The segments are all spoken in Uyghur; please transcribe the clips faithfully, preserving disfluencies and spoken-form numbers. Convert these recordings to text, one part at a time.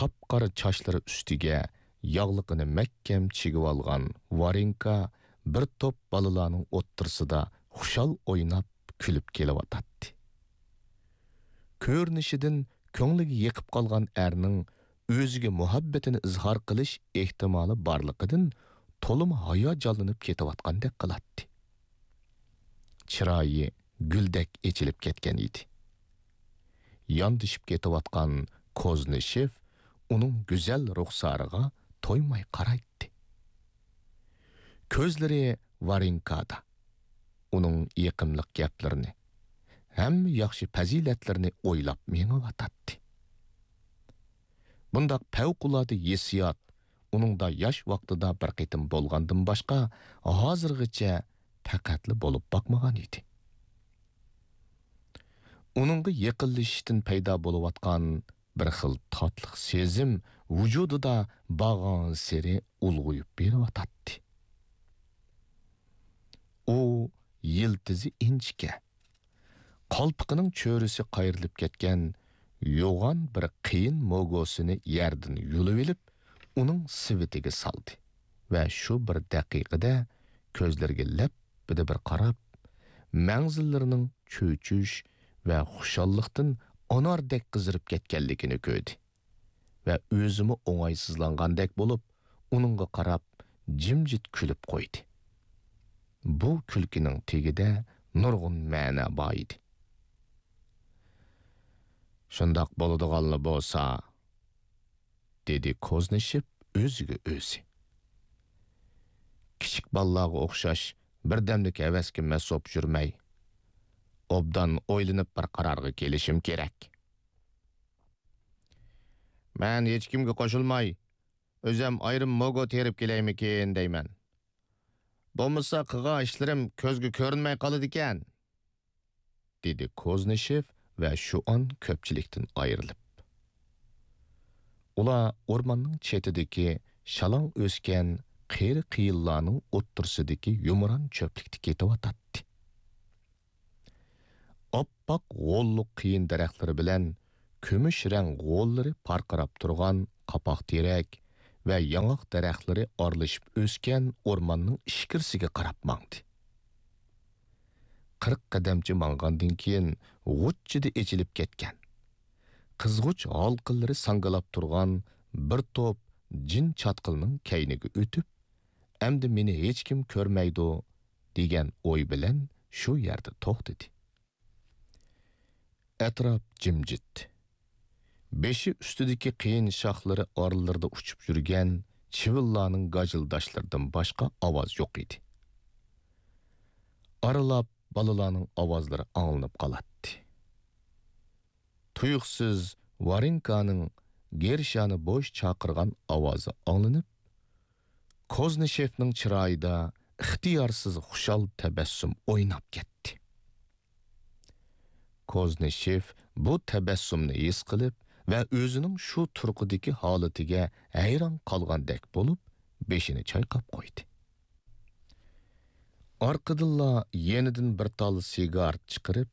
قاپقارا چاچلىرى ئۈستىگە ياغلىقىنى مەھكەم چىگىۋالغان ۋارېنكا بىر توپ بالىلارنىڭ ئوتتۇرىسىدا خۇشال ئويناپ، كۈلۈپ كېلىۋاتاتتى. كۆرۈنۈشىدىن كۆڭلىگە يېقىپ قالغان ئەرنىڭ ئۆزىگە مۇھەببىتىنى ئىزھار قىلىش ئېھتىمالى بارلىقىدىن تولىمۇ ھاياجانلىنىپ كېتىۋاتقاندەك قىلاتتى. چىرايى گۈلدەك ئېچىلىپ كەتكەن ئىدى. ياندىشىپ كېتىۋاتقان كوزنىشېف ئۇنىڭ گۈزەل رۇخسارىغا تويماي قارايتتى. كۆزلىرى ۋارېنكادا. ئۇنىڭ يېقىملىق گەپلىرىنى، ھەممە ياخشى پەزىلەتلىرىنى ئويلاپ مېڭىۋاتاتتى. بۇنداق پەۋقۇلئاددە ھېسسىيات ئۇنىڭدا ياش ۋاقتىدا بىر قېتىم بولغاندىن باشقا، ھازىرغىچە پەقەتلا بولۇپ باقمىغان ئىدى. ئۇنىڭغا يېقىنلىشىشتىن پەيدا بولۇۋاتقان بىر خىل تاتلىق سېزىم ۋۇجۇدىدا بارغانسېرى ئۇلغىيىپ بېرىۋاتاتتى. ئۇ يىلتىزى ئىنچىكە، قالپىقىنىڭ چۆرىسى قايرىلىپ كەتكەن يوغان بىر قېيىن موگوسىنى يەردىن يۇلۇۋېلىپ، ئۇنىڭ سېۋىتىگە سالدى ۋە شۇ بىر دەقىقىدە كۆزلىرىگە لەپپىدە بىر قاراپ، مەڭزىلىرىنىڭ چۆچۈش ۋە خۇشاللىقتىن ئاناردەك قىزىرىپ كەتكەنلىكىنى كۆردى ۋە ئۆزىمۇ ئوڭايسىزلانغاندەك بولۇپ، ئۇنىڭغا قاراپ جىمجىت كۈلۈپ قويدى. بۇ كۈلكىنىڭ تېگىدە نۇرغۇن مەنە بار ئىدى. «شۇنداق بولىدىغانلا بولسا»، دېدى كوزنىشېف ئۆزىگە ئۆزى. «كىچىك بالىلارغا ئوخشاش بىردەملىك ھەۋەسكە مەسۇپ يۈرمەي، ئوبدان ئويلىنىپ بىر قارارغا كېلىشىم كېرەك. مەن ھېچكىمگە قوشۇلماي، ئۆزەم ئايرىم موگو تېرىپ كېلەيمىكىن دەيمەن. بولمىسا قىلغان ئىشلىرىم كۆزگە كۆرۈنمەي قالىدىكەن»، دېدى كوزنىشېف ۋە شۇئان كۆپچىلىكتىن ئايرىلىپ. ئۇلار ئورماننىڭ چېتىدىكى شالاڭ ئۆسكەن قېرى قېيىنلارنىڭ ئوتتۇرىسىدىكى يۇمران چۆپلۈكتە كېتىۋاتاتتى. ئاپئاق غوللۇق قېيىن دەرەخلىرى بىلەن كۈمۈش رەڭ غوللىرى پارقىراپ تۇرغان قاپاق تېرەك ۋە ياڭاق دەرەخلىرى ئارىلىشىپ ئۆسكەن ئورماننىڭ ئىچكىرىسىگە قاراپ ماڭدى. قىرىق قەدەمچە ماڭغاندىن كېيىن، غۇچچىدە ئېچىلىپ كەتكەن، قىزغۇچ ھالقىلىرى ساڭگىلاپ تۇرغان بىر توپ جىن چاتقىلىنىڭ كەينىگە ئۆتۈپ، «ئەمدى مېنى ھېچكىم كۆرمەيدۇ» دېگەن ئوي بىلەن شۇ يەردە توختىدى. ئەتراپ جىمجىت. بېشى ئۈستىدىكى قېيىن شاخلىرى ئارىلىرىدا ئۇچۇپ يۈرگەن چىۋىنلارنىڭ گاجىلداشلىرىدىن باشقا ئاۋاز يوق ئىدى. ئارىلاپ بالىلارنىڭ ئاۋازلىرى ئاڭلىنىپ قالاتتى. تۇيۇقسىز ۋارېنكانىڭ گېرشانى بوش چاقىرغان ئاۋازى ئاڭلىنىپ، كوزنىشېفنىڭ چىرايىدا ئىختىيارسىز خۇشال تەبەسسۇم ئويناپ كەتتى. كوزنىشېف بۇ تەبەسسۇمنى ھېس قىلىپ ۋە ئۆزىنىڭ شۇ تۇرقىدىكى ھالىتىگە ھەيران قالغاندەك بولۇپ، بېشىنى چايقاپ قويدى. ئارقىدىنلا يېنىدىن بىر تال سىگارېت چىقىرىپ،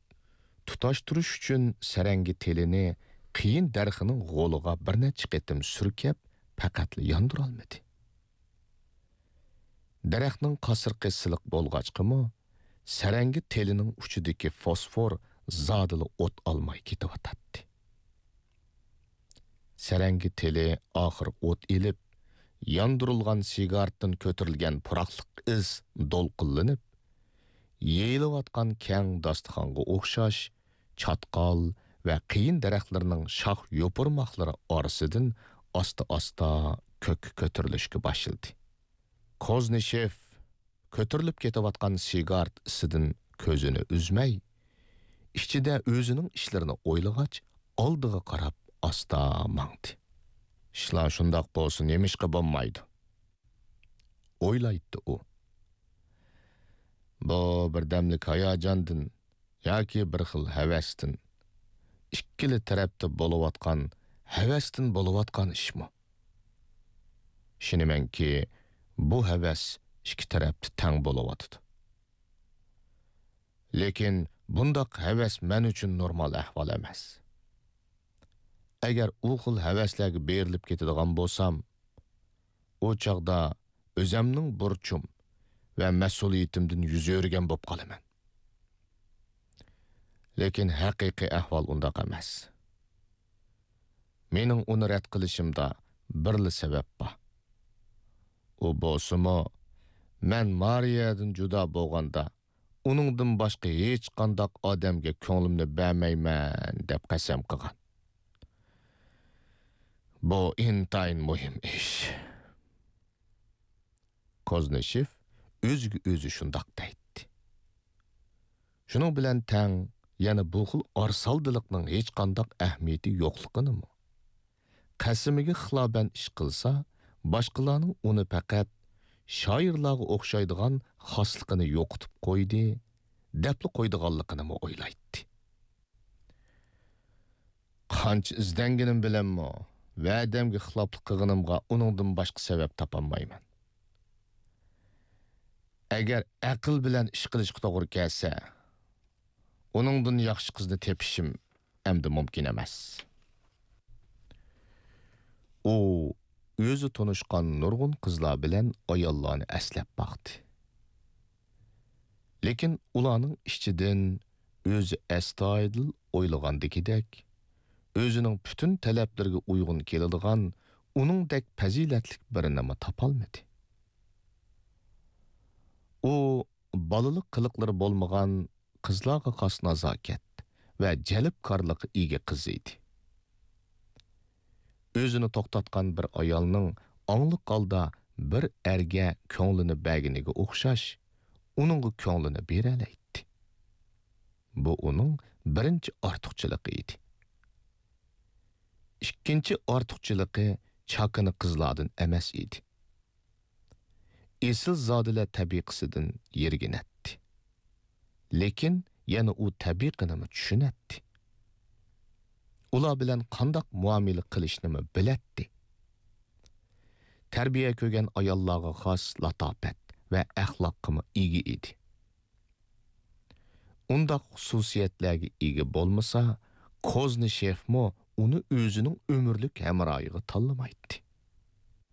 تۇتاشتۇرۇش ئۈچۈن سەرەڭگە تېلىنى قېيىن دەرىخىنىڭ غولىغا بىر نەچچە قېتىم سۈركەپ، پەقەتلا ياندۇرالمىدى. دەرەخنىڭ قاسرىقى سىلىق بولغاچقىمۇ، سەرەڭگە تېلىنىڭ ئۇچىدىكى فوسفور زادىلا ئوت ئالماي كېتىۋاتاتتى. سەرەڭگە تېلى ئاخىر ئوت ئېلىپ، ياندۇرۇلغان سىگارېتتىن كۆتۈرۈلگەن پۇراقلىق ئىس دولقۇنلىنىپ، يېيىلىۋاتقان كەڭ داستىخانغا ئوخشاش چاتقال ۋە قېيىن دەرەخلىرىنىڭ شاخ يوپۇرماقلىرى ئارىسىدىن ئاستا-ئاستا كۆككە كۆتۈرۈلۈشكە باشلىدى. كوزنىشېف كۆتۈرۈلۈپ كېتىۋاتقان سىگارېت ئىسىدىن كۆزىنى ئۈزمەي، ئىچىدە ئۆزىنىڭ ئىشلىرىنى ئويلىغاچ، ئالدىغا قاراپ ئاستا ماڭدى. «ئىشلار شۇنداق بولسا نېمىشقا بولمايدۇ؟» ئويلايتتى ئۇ. بۇ بىردەملىك ھاياجاندىن ياكى بىر خىل ھەۋەستىن، ئىككىلا تەرەپتە بولۇۋاتقان ھەۋەستىن بولۇۋاتقان ئىشمۇ؟ ئىشىنىمەنكى، بۇ ھەۋەس ئىككى تەرەپتە تەڭ بولۇۋاتىدۇ. لېكىن بۇنداق ھەۋەس مەن ئۈچۈن نورمال ئەھۋال ئەمەس. ئەگەر ئۇ خىل ھەۋەسلەرگە بېرىلىپ كېتىدىغان بولسام، ئۇ چاغدا ئۆزەمنىڭ بۇرچۇم ۋە مەسئۇلىيىتىمدىن يۈز ئۆرۈگەن بولۇپ قالىمەن. لېكىن ھەقىقىي ئەھۋال ئۇنداق ئەمەس. مېنىڭ ئۇنى رەت قىلىشىمدا بىرلا سەۋەب بار. ئۇ بولسىمۇ، مەن مارىيەدىن جۇدا بولغاندا، ئۇنىڭدىن باشقا ھېچقانداق ئادەمگە كۆڭلۈمنى بەرمەيمەن دەپ قەسەم قىلغان. بۇ ئىنتايىن مۇھىم ئىش. كوزنىشېف ئۆزىگە ئۆزى شۇنداق دەيتتى. شۇنىڭ بىلەن تەڭ، يەنە بۇ خىل ئارىسالدىلىقنىڭ ھېچقانداق ئەھمىيىتى يوقلۇقىنىمۇ، قەسىمىگە خىلاپەن ئىش قىلسا، باشقىلارنىڭ ئۇنى پەقەت شائىرلارغا ئوخشايدىغان خاسلىقىنى يوقىتىپ قويدى، دەپلا قويىدىغانلىقىنىمۇ ئويلايتتى. قانچە ئىزدەنگىنىم بىلەنمۇ، ۋەدەمگە خىلاپلىق قىلغىنىمغا ئۇنىڭدىن باشقا سەۋەب تاپالمايمەن. ئەگەر ئەقىل بىلەن ئىش قىلىشقا توغرا كەلسە، ئۇنىڭدىن ياخشى قىزنى تېپىشىم ئەمدى مۇمكىن ئەمەس. ئۇ ئۆزى تونۇشقان نۇرغۇن قىزلار بىلەن ئاياللارنى ئەسلەپ باقتى. لېكىن ئۇلارنىڭ ئىچىدىن ئۆزى ئەستايىدىل ئويلىغاندىكىدەك، ئۆزىنىڭ پۈتۈن تەلەپلىرىگە ئۇيغۇن كېلىدىغان ئۇنىڭدەك پەزىلەتلىك بىرىنىمۇ تاپالمىدى. ئۇ بالىلىق قىلىقلىرى بولمىغان، قىزلارغا خاس نازاكەت ۋە جەلپكارلىققا ئىگە قىز ئىدى. ئۆزىنى توختاتقان بىر ئايالنىڭ ئاڭلىق ھالدا بىر ئەرگە كۆڭلىنى بەرگىنىگە ئوخشاش، ئۇنىڭغا كۆڭلىنى بېرەلەيتتى. بۇ ئۇنىڭ بىرىنچى ئارتۇقچىلىقى ئىدى. ئىككىنچى ئارتۇقچىلىقى چاكىنا قىزلاردىن ئەمەس ئىدى. ئېسىلزادىلەر تەبىقىسىدىن يىرگىنەتتى. لېكىن يەنە ئۇ تەبىقىنىمۇ چۈشىنەتتى. ئۇلار بىلەن قانداق مۇئامىلە قىلىشنىمۇ بىلەتتى. تەربىيە كۆرگەن ئاياللارغا خاس لاتاپەت ۋە ئەخلاققىمۇ ئىگە ئىدى. ئۇنداق خۇسۇسىيەتلەرگە ئىگە بولمىسا، كوزنىشېفمۇ ئۇنى ئۆزىنىڭ ئۆمۈرلۈك ھەمراھىغا تاللىمايتتى.